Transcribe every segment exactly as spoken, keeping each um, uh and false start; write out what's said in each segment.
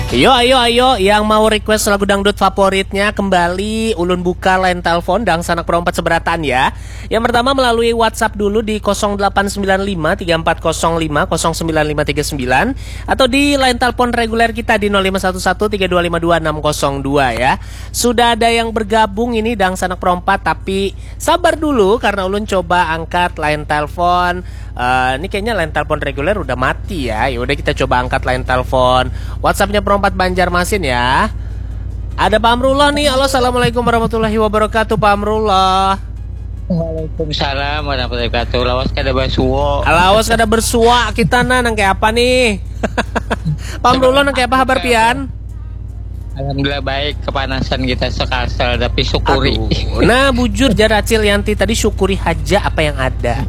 Yo, ayo, ayo, yang mau request lagu dangdut favoritnya kembali, ulun buka line telepon dangsanak perompat seberataan ya. Yang pertama melalui WhatsApp dulu di kosong delapan sembilan lima tiga empat kosong lima kosong sembilan lima tiga sembilan atau di line telepon reguler kita di nol lima satu satu tiga dua lima dua enam kosong dua ya. Sudah ada yang bergabung ini dangsanak perompat, tapi sabar dulu karena ulun coba angkat line telepon. Eh, ini kayaknya line telepon reguler udah mati ya. Ya udah, kita coba angkat line telepon WhatsAppnya Perompat Banjarmasin ya. Ada Pak Amrullah nih. Halo, assalamualaikum warahmatullahi wabarakatuh, Pak Amrullah. Waalaikumsalam warahmatullahi wabarakatuh. Lawas kada basuo. Lawas kada bersuak kita nah, nang kayak apa nih? Pak Amrullah, nang kayak apa habar pian? Alhamdulillah baik, kepanasan kita sekasar tapi syukuri. Aduh. Nah, bujur jar Acil Yanti tadi, syukuri haja apa yang ada.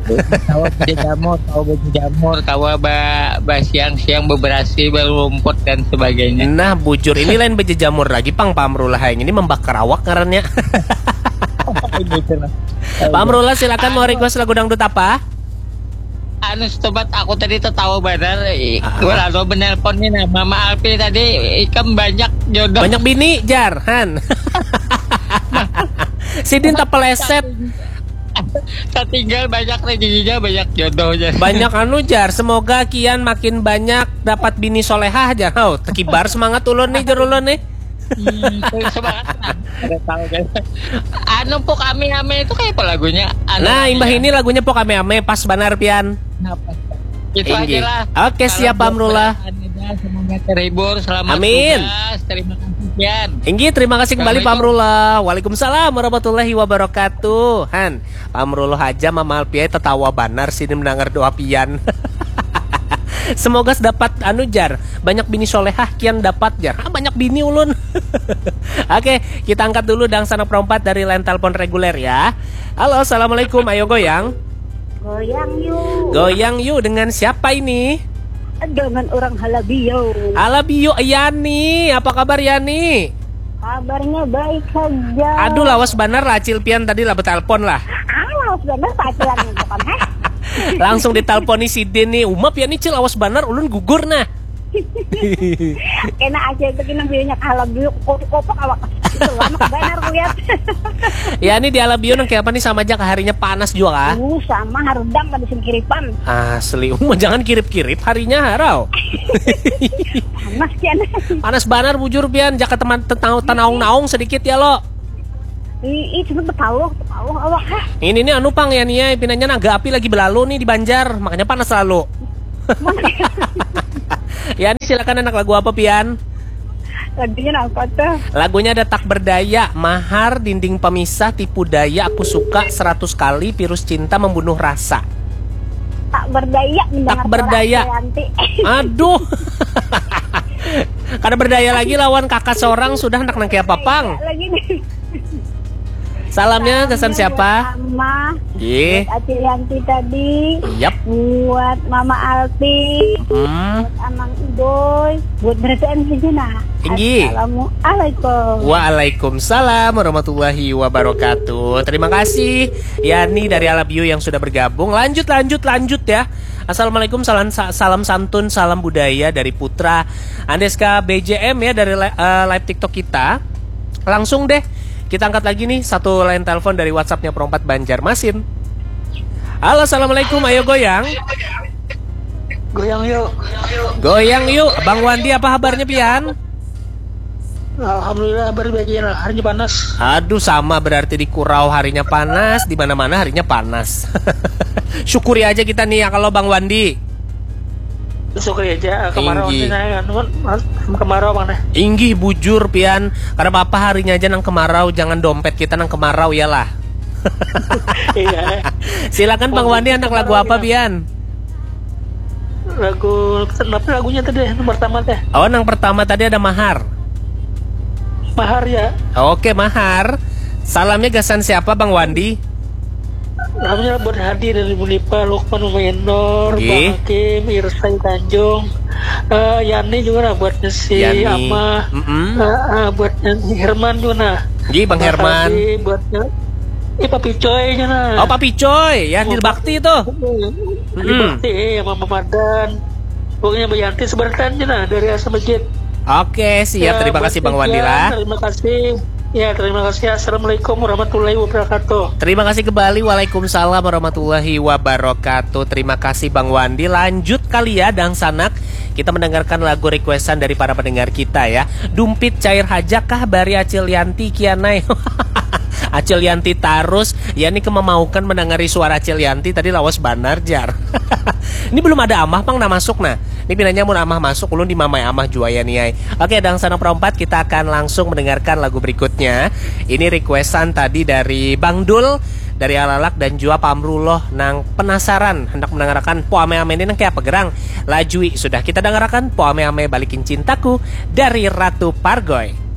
Tawa baju jamur, tawa baju jamur, tawa ba, ba siang-siang beberasi, berrumput dan sebagainya. Nah, bujur ini lain baju jamur lagi pang, Pak Amrullah, yang ini membakar awak ngarannya. Pak Amrullah, silakan mau request lagu dangdut apa? Anu sobat, aku tadi tertawa benar. Gue lalu menelpon nih nah, Mama Alpi tadi, ikam banyak jodoh. Banyak bini jar han. Sidin tak peleset. Tak tinggal banyak rezekinya, banyak jodohnya. Banyak anu jar, semoga kian makin banyak dapat bini solehah jar. Hau, tekibar semangat ulun nih jar ulun nih. Hmm, semangat. Ada tahu kan? Anu pok ame-ame itu kayak apa lagunya? Anu, nah, imbah ini lagunya pok ame-ame, pas banar pian. Nah, pas. Itu aja lah. Oke, siap Pak Amrullah. Semoga terhibur, selamat Amin. Tugas. Terima kasih Pian. Inggih, terima kasih kembali Pak Amrullah. Waalaikumsalam warahmatullahi wabarakatuh. Han, Pak Amrullah aja Mama Alpiai tertawa banar sini mendengar doa Pian. Semoga dapat anu jar, banyak bini solehah kian dapat jar. Ah, banyak bini ulun. Oke, kita angkat dulu dangsanak perompat dari line telepon reguler ya. Halo, assalamualaikum. Ayo goyang. Goyang yuk. Goyang yuk, dengan siapa ini? Dengan orang Halabio. Halabio, Yani. Apa kabar Yani? Kabarnya baik saja. Aduh, lawas banar lah Acil Pian tadi lah betelpon lah. Ah, lawas banar Pak Acil yang bukan, heh. Langsung diteleponi sidin nih. Umap ya nih Cil, lawas banar, ulun gugur nah. Kena aja itu kena bionya kalah bio kopok-kopok awak. Itu lama banar kulihat. Ya ini di Alabio nang kayak apa nih, sama aja kah harinya panas juga kah? Uh, sama harudang kada sing kiripan. Asli, uma jangan kirip-kirip harinya harau. Panas kian. Panas banar bujur pian, jaka teman tanaung-naung sedikit ya lo. Ih, cuma betaluh, betaluh awak hah. Ini nih anu pang ya nih ya, pinanya naga api lagi belalu nih di Banjar, makanya panas lalu. Ya nih silakan anak lagu apa pian? Lagunya apa tuh? Lagunya ada Tak Berdaya, Mahar, Dinding Pemisah, Tipu Daya, Aku Suka, Seratus Kali, Virus Cinta, Membunuh Rasa. Tak berdaya mendengar Tak berdaya. Aduh. Kada berdaya lagi lawan kakak seorang sudah anak nang kayak papang. Lagi nih. Salamnya kesan siapa? Mama. Iya. Buat Acil Yanti tadi. Yap. Buat Mama Alpi. Hmm. Buat Amang Idoy. Buat berarti saja nah. Tinggi. Assalamualaikum. Waalaikumsalam warahmatullahi wabarakatuh. Terima kasih Yani dari Alabio yang sudah bergabung. Lanjut, lanjut, lanjut ya. Assalamualaikum, salam salam santun, salam budaya dari Putra Andeska B J M ya, dari uh, live TikTok kita. Langsung deh kita angkat lagi nih satu line telepon dari WhatsAppnya Perompat Banjarmasin. Halo, assalamualaikum, ayo goyang. Goyang yuk. Goyang yuk, Bang Wandi, apa kabarnya pian? Alhamdulillah, baru bagian harinya panas. Aduh, sama berarti di Kurau harinya panas, di mana-mana harinya panas. Syukuri aja kita nih ya kalau Bang Wandi. Syukuri aja, kemarau. Inggih. Kemarau bang deh. Inggih bujur pian, karena apa harinya aja nang kemarau, jangan dompet kita nang kemarau ya lah. Iya. Silakan Bang Wandi, anak lagu apa pian? Lagu, kenapa lagunya tadi yang pertama teh? Oh, yang pertama tadi ada Mahar. Mahar ya. Oke, Mahar. Salamnya gasan siapa, Bang Wandi? Salamnya buat Hadi dari Bulipa, Lukman, Mama Enor, Bang Hakim, Irsai Tanjung, uh, Yani juga lah buat si Yani. Ama, mm -mm. Uh, uh, buat Herman juga nah. Gih, Bang Herman. Hadi, buat ini Papi Coy aja nah. Oh, Papi Coy, ya Dil Bakti itu. Dil Bakti, eh, sama Mamadan. Pokoknya Mbak Yanti sebentar aja nah dari Asam Masjid. Oke, siap. Ya, terima kasih Bang Wandila. Terima kasih. Ya, terima kasih. Assalamualaikum warahmatullahi wabarakatuh. Terima kasih kembali. Waalaikumsalam warahmatullahi wabarakatuh. Terima kasih Bang Wandi. Lanjut kali ya, Dangsanak. Kita mendengarkan lagu requestan dari para pendengar kita ya. Dumpit cair haja kah bari Acil Yanti kianai. Acil Yanti tarus. Ya, ini kemamaukan mendengari suara Acil Yanti tadi lawas banar jar. Ini belum ada amah pang nah masuk nah. Ini pinanya mun amah masuk ulun dimamai amah jua ya niai. Oke, Dangsanak Perompat, kita akan langsung mendengarkan lagu berikutnya. Ini requestan tadi dari Bang Dul, dari Alalak dan juga Pak Amrullah nang penasaran hendak mendengarkan poame-ame ini nang kayak apa gerang. Lajui sudah kita dengarkan poame-ame Balikin Cintaku dari Ratu Pargoy.